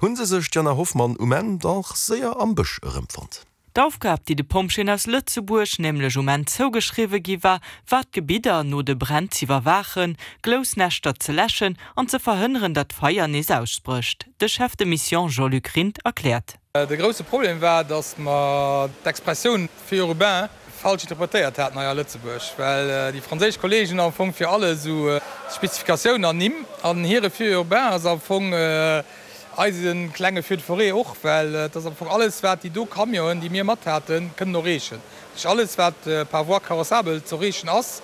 Hunn se sech, d'Jana Hoffmann, um Enn dach séier am Bësch erëmfonnt. D'Aufgab, déi de Pompjeeën aus Lëtzebuerg nämlech um Enn zougeschriwwe gi war, war d'Gebidder no de Bränn z'iwwerwaachen, Gloussnäschter ze läschen an ze verhënneren, datt d'Feier nees ausbrécht. De Chef de Mission Jean-Luc Rindt erkläert. De grousse Problem war, datt mer d'Expressioun feu urbain falsch interpretéiert haten hei a Lëtzebuerg, well déi franséisch Kollegen am Fong fir alles esou Spezifikatiounen an Nimm an hire Feu urbain ass am Fong eise klenge Feu de forêt och, well et ass am Fong alles wat déi do Camionen, déi mir mat haten, kënnen erreechen. Dat heescht alles wat par voie carrossable ze erreechen ass,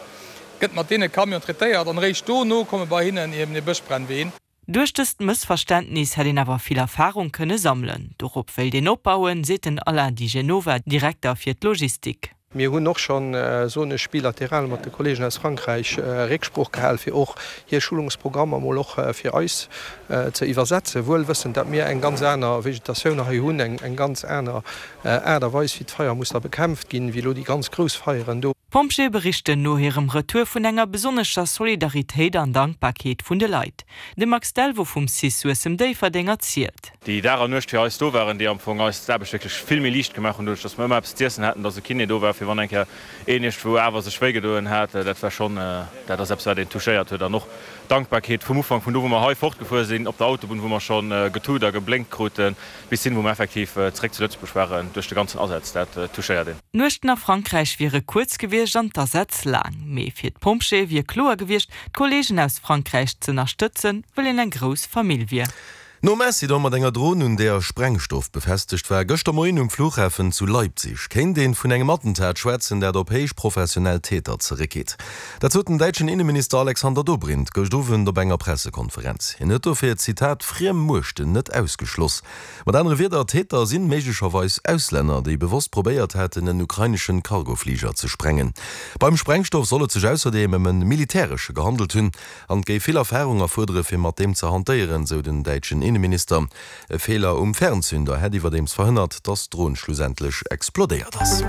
gëtt mat deene Camionen traitéiert an eréischt dono komme bei hinnen eben déi Bëschbrennween. Duerch dëst Mëssverständnis hätt een awer vill Erfarung kënne sammelen. Dorop wéilt een opbauen, seet den Alain Di Genova, Direkter fir d'Logistik. Mir hunn och schonn, soen ech, bilateral mat de Kollegen aus Frankräich Récksprooch gehal, fir och hir Schulungsprogrammer mol och fir eis ze iwwersetzen, wuel wëssend, datt mir eng ganz aner Vegetatioun hei hunn, eng ganz aner Aart a Weis, wéi d'Feier muss da bekämpft ginn, wéi elo déi ganz grouss Feieren do. D'Pompjeeë berichten no hirem Retour vun enger besonnescher Solidaritéit an Dankbarkeet vun de Leit. De Max Delvaux vum cis Suessem-Déifferdeng erzielt. Déi Dag an Nuecht fir eis do waren, déi am Fong eis d'Aarbecht wierklech vill méi liicht gemaach hunn, doduerch dass mer ëmmer eppes z'iessen haten, dass e Kiné do war, fir wann eng Kéier een iergendwou awer sech wéi gedoen hat. Dat war schonn, dat ass eppes wat een touchéiert huet. An och d'Dankbarkeet vum Ufank, vun do wou mer hei fortgefuer sinn op der Autobunn, wou mer scho getut a geblénkt kruten, Bis hin, wou mer effektiv zeréck zu Lëtzebuerg waren, duerch de ganzen Asaz, dat touchéiert een. D'Nuechten a Frankräich wiere kuerz gewiescht an d'Asätz laang. Mee fir d'Pompjeeë wier kloer gewiescht, d'Kolleegen aus Frankräich z'ënnerstëtzen, wëll een eng grouss Famill wier. Nom Accident mat enger Dron, un där Sprengstoff befestegt war, gëschter Moien um Flughafen zu Leipzig, kéint een vun engem Attentat schwätzen, dat op héich professionell Täter zeréckgeet. Dat sot den däitschen Inneminister Alexander Dobrindt gëscht Owend op enger Pressekonferenz. Hien huet dofir, Zitat, friem Muechten net ausgeschloss. Mat anere Wierder, d'Täter sinn méiglecherweis Auslänner, déi bewosst probéiert haten, en ukraineschen Cargofliger ze sprengen. Beim Sprengstoff soll et sech ausserdeem ëm e militäresche gehandelt hunn an et géif vill Erfarung erfuerdere fir mat deem ze hantéieren, sou den däitschen Inneminister. E Feeler um Fernzünder hätt iwwerdeems verhënnert, datt d'Dron schlussendlech explodéiert ass.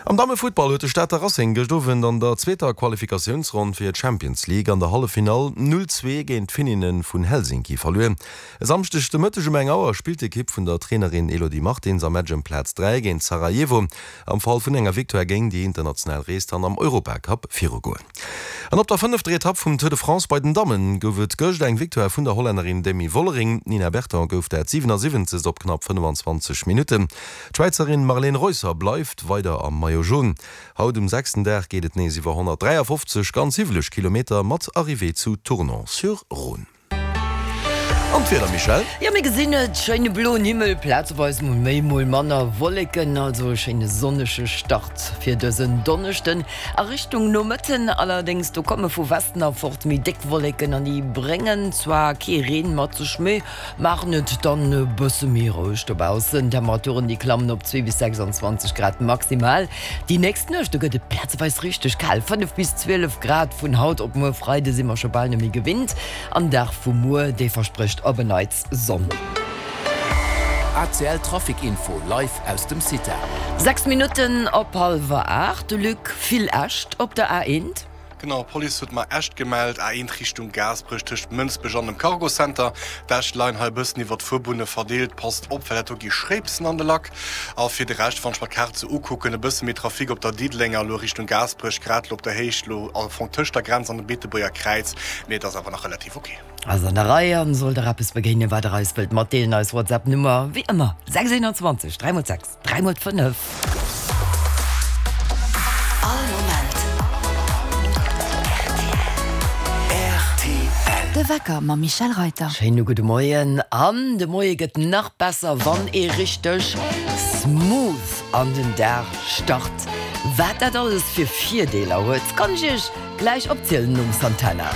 Am Dammefuttball huet de Stater Racing gëscht Owend an der zweeter Qualifikatiounsronn fir d'Champions League an der Halleffinall 0, 2 géint d'Finninne vun Helsinki verluer. E Samschdeg de Mëtteg um eng Auer spillt d'Ekipp vun der Trainerin Elodie Martins am Match ëm Plaz 3 géint Sarajevo. Am Fall vun enger Victoire géing déi international Rees dann am Europacup virugoen. An op der fënnefter Etapp vum Tour de France bei den Dammen gouf et gëscht eng Victoire vun der Hollännerin Demi Vollering. D'Nina Berton gouf dat 77. op knapp 25 Minutten. D'Schwäizerin Marlene Reusser bleift weider am Maillot Jaune. Haut um sechsten Dag geet et nees iwwer 153 ganz hiwweleg Kilometer mat Arrivée zu Tournon-sur-Rhône. An d'Wieder, Michèle? Jo, mir gesinn et, schéine bloen Himmel, plazeweis mol méi, mol manner Wolleken, also e schéine sonnege Start fir dësen Donneschden. A Richtung Nomëtten allerdéngs, do komme vu Westen erfort méi déck Wolleken an déi bréngen zwar kee Reen mat sech, mee maachen et dann e bësse méi roueg dobaussen. D'Temperaturen, déi klammen op 2 bis 26 Grad maximal. Déi nächst Nuecht, do gëtt et plazeweis richteg kal, 5 bis 12 Grad. Vun haut op muer Freide si mer scho bal net méi gewinnt. An Dag vu muer, dee versprécht op en Neits Sonn. ACL Trafic Info live aus dem CITA. 6 Minutten op hallwer 8, de Luc, vill Äscht op der A1. Genau, d'Police huet mer Äscht gemellt, A1 Richtung Gaasperech tëscht Mënsbech an dem Cargo Center. D'Äscht leien hei e bëssen iwwer d'Fuerbunne verdeelt. Passt op, well dat do gi Schréipsen an de Lack. A fir de Rescht, wann ech mer d'Kaart sou ukucken, e bësse méi Trafic op der Diddelenger elo Richtung Gaasperech, grad elo op der Héicht elo am Fong tëscht der Grenz an dem Beetebuerger Kräiz, mee et ass awer nach relativ ok. Ass an der Rei an sollt der eppes begéinen wat der eis wëllt matdeelen, eis WhatsApp Nummer wéi ëmmer 6 21 3 x 6 3 x 5. All Moment rtl. De Wecker mam Michèle Reyter. Schéine gudde Moien an de Moie gëtt nach besser wann ee richteg smooth an den Dag start. Wat dat alles fir Virdeeler huet, kann ech iech gläich opzielen nom Santana.